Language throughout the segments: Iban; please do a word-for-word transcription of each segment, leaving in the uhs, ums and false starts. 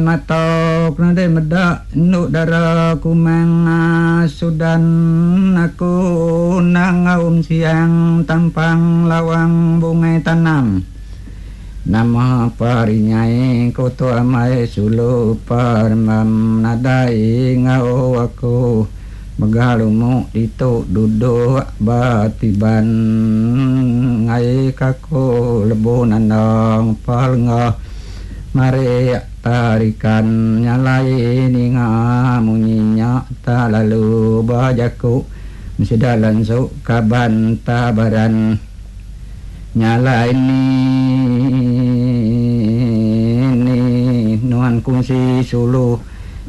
Mata nadai meda endu dara kumang sudan aku nang ngaum siang tampang lawang bungai tanam. Nama parinyai ko tu amai sulu parmam nadai ngau aku megalumu ditu duduk batiban ngai kaku lebu nandang palengah mari tarikan nyalai ninga munyinya tak lalu bajaku mesida lansu kaban tabaran nyalai ni ni nuan kungsi sulu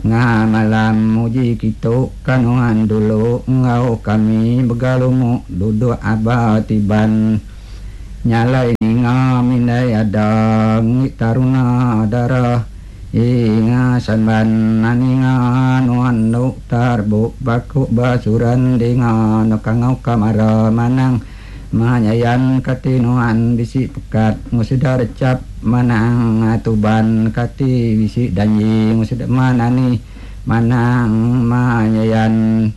ngamalam muji kitu kanuan dulu ngau kami begalumu duduk abatiban nyalai ninga mindai ada taruna darah inga samban naninga nuan nu tarbu baku basuran dinga no kangau kamara manang manyayan kati nuan bisi pekat ngusudah recap manang atuban kati bisi danji ngusudah manani manang manyayan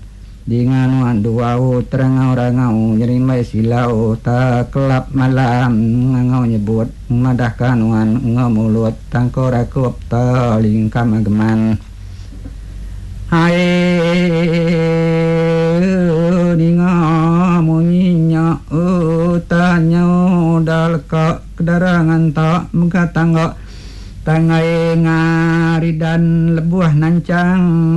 dinga nuan duau terangau rangau nyerimai silau tak kelap malam ngangau nyebut madahkan nuan ngemulut tangko rakup telingkam ageman hai ninga munyinya tanya dalka kedarangan tak megatangga tangga